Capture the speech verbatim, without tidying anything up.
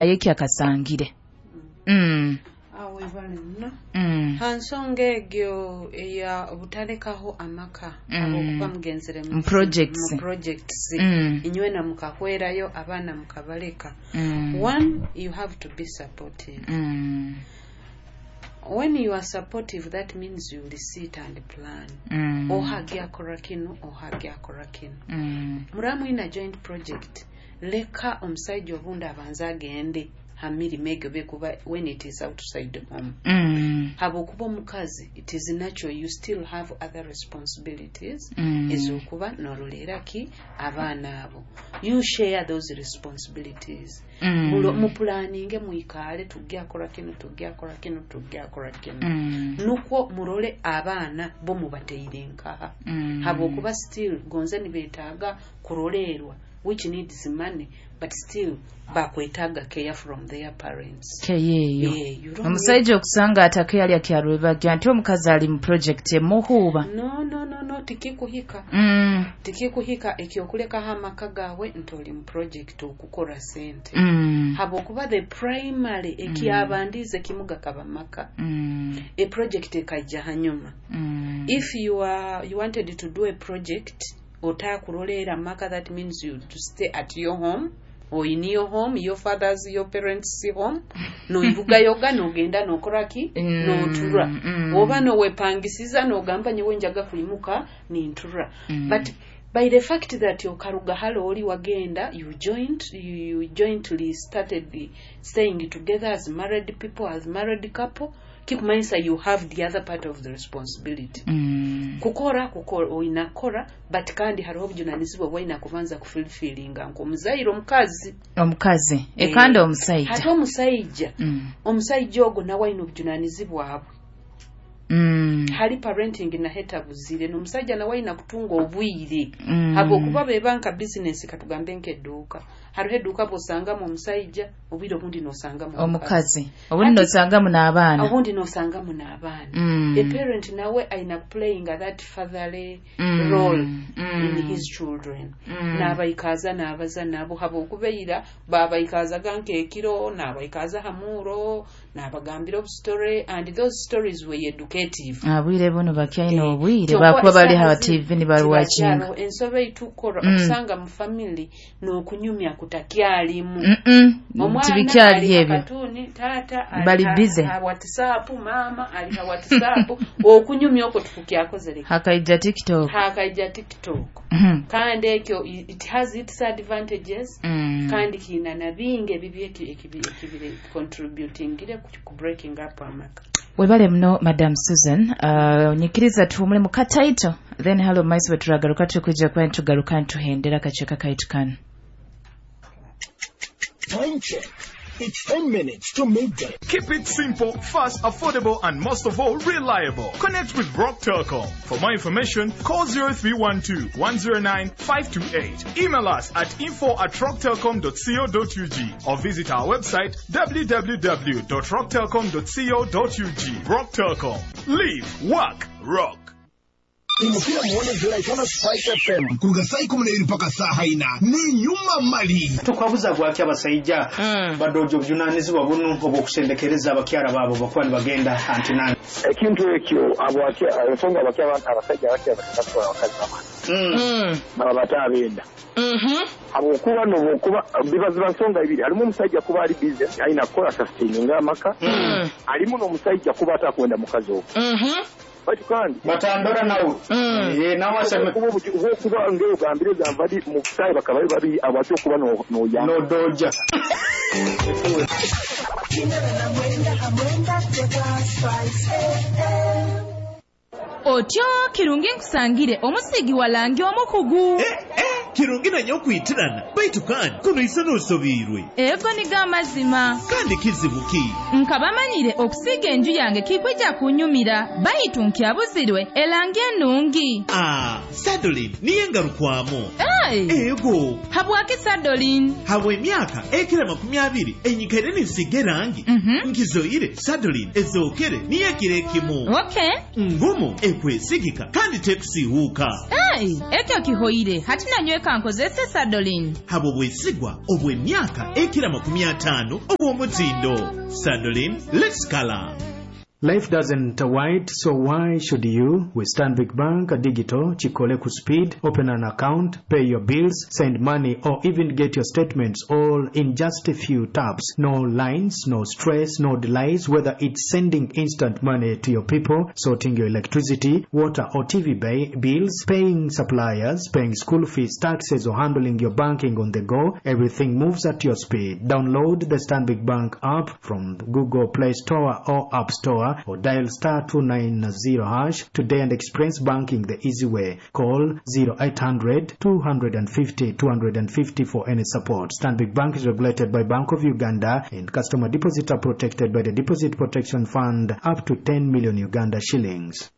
Yeki akasangire mm. Awo webale muno. Mm. Ha nsonga egyo eya obutalekaho amaka, Mm. habwokuba mugenzere mu Mu projects. Mu projects. Mm. Inywena mukahwerayo, abaana mukabaleka. Mm. One, you have to be supportive. Mm. When you are supportive, that means you will sit and plan. Mm. Oha gyakora kinu, oha gyakora kinu. Mm. Muramu ina joint project, leka omusajja obundi abanze agende ha mirimu egyo bekuba when it is outside home. Mm. Habwokuba omukazi, it is natural, you still have other responsibilities Mm. ez'okuba n'oroleera ki abaana abo. You share those responsibilities. Mm. Mulo- mupulaninge, mwikaale, tugyakora kinu, tugyakora kinu, tugyakora kinu. Mm. Nukwo murole abaana bo mubateire nkaha. Mm. Habwokuba still gonze nibeetaaga kurolerwa, which needs money, but still bakwetaaga care from their parents. Keyeeyo. Yeah, you don't. Omusajja okusanga atake kyarwebajja nti omukazi ali mu project emuhuuba. no no no no tikikuhika. Mm. Tikikuhika ekyokulekaho amaka gaawe nti oli mu project okukora sente. Mm. Habwokuba the primary ekyabandiize kimu gakaba maka. Mm. A project ekaija hanyuma. Mm. If you are you wanted to do a project otakuroleera maka, that means you to stay at your home or in your home, your father's, your parents' home, noirugayoga nogenda nokoraki. Mm, Notura. mm. Oba nowepangisiza nogamba, "Nyewe njaga kuimuka nintura." Mm. But by the fact that okaruga halo oli wagenda, you joined you, you jointly started the staying together as married people, as married couple, kikumanyisa you have the other part of the responsibility. Mm. Kukora kukora oyina kukora, but kandi hariho obujunanizibwa bwayina kubanza kufulfilinga nk'omuzaire omukazi. Omukazi. Eh, ekandi omusajja. Hati omusajja, Mm. omusajja ogwo nawe ayina obujunanizibwa bwe. Mm. Hali parenting nahe tabuzire, n'omusajja nawe ayina kutunga obwire. Mm. Habwokuba beba nka bizinesi, katugambe nk'edduuka, hariho edduuka bw'osangamu omusajja obwire, obundi n'osangamu omukazi, obundi nosangamu n'abaana. Obundi n'osangamu n'abaana. Mm. A parent nawe ayina playing that fatherly Mm. role Mm. in his children. Mm. N'abaikaaza n'abaza nabo, habwokuba eira babaikaazaga nk'ekiro, n'abaikaaza hamuuro, n'abagambira obusitore, and those stories were educative. Abwire buno bakyalina Eh, obwire kyokka bakuba bali essaawa ha zino T V nibaruwakinga. tibakyalo. Ensobe eitukora Mm. okusanga mu family n'okunyumya kutakyalimu. Mm-mm. Tibikyali Ali ha ebyo. Katuni, taata ali Bali ha- busy. ha WhatsApp, maama ali ha WhatsApp, okunyumya okwo tukukyakozere. Hakaija TikTok. Hakaija TikTok. Mhm. Kandi ekyo i- it has its advantages. Mm. Kandi kiina na bingi ebibi eki- ekibi ekibire contributingire ku ku breaking up amaka. Webale muno, Madam Susan. uh, nyikiriza tuhumule mu kataito, then halo maiso bwe turagaruka tukwija kuba nitugaruka nituhendera akacweka kaitu kanu. Time check. It's ten minutes to midday. Keep it simple, fast, affordable, and most of all, reliable. Connect with Rock Telcom. For more information, call zero three one two one zero nine five two eight. Email us at info at rocktelcom dot co dot U G or visit our website w w w dot rocktelcom dot co dot U G. Rock Telcom. Live, work, rock. Imukira muone ziraitana Spice F M kuruga saa ikumi na ibiri mpaka saa ina ni nyuma mali. Tukwabuza gwaki abasajja badoja obujunanizibwa bunu obwokusendekereza abakyara baabo bakuba nibagenda antinani? Ekintu ekyo abwaki- ensonga abaki abantu abasajja abakya batwala abakazi bamala baba bataabenda, habwokuba nobwokuba biba ziba nsonga ibiri. Halimu omusajja kuba ali busy, alina kukola sustaininga amaka, alimu n'omusajja kuba atakwenda mukazi ogwo, baitu kandi batandora nawe. Eh, nawe aseme. Okuba obuki- obwokuba ngaogambire gamba ndi mu busaayi bakaba bali babiri, abaki okuba no- noyamba. Nodoja. Otyo kirungi nkusangire omusigi walangi omukugu. Kirungi nanye okwitirana, baitu kandi kuno isa nosobiirwe. Ego nigo amazima. Kandi kizibu ki? Nkabamanyire okusiiga enju yange kikwija kunyumira, baitu nkyabuzirwe elangi ennungi. Ah, Sadolin niye ngarukwamu. Ah, Hey! Ego. Habwaki Sadolin? Habw'emyaka ekira makumi abiri enyikaire ninsiga erangi, Mhm. nkizoire Sadolin ezookere niyo ekiro ekimu. Okay. Ngumu, ekwesigika kandi tekusiihuuka. Hey, ekyo kihoire. Hati nanyweka nkozese Sadolin. Habwo bwesigwa obw'emyaka ekira makumi ataano obw'omutindo. Sadolin, let's color. Life doesn't wait, so why should you? With Stanbic Bank Digital, Chikole ku speed, open an account, pay your bills, send money, or even get your statements all in just a few taps. No lines, no stress, no delays, whether it's sending instant money to your people, sorting your electricity, water or T V ba- bills, paying suppliers, paying school fees, taxes, or handling your banking on the go, everything moves at your speed. Download the Stanbic Bank app from Google Play Store or App Store or dial star two nine zero hash today and experience banking the easy way. Call zero eight hundred two fifty two fifty for any support. Stanbic Bank is regulated by Bank of Uganda and customer deposits are protected by the Deposit Protection Fund up to ten million Uganda shillings.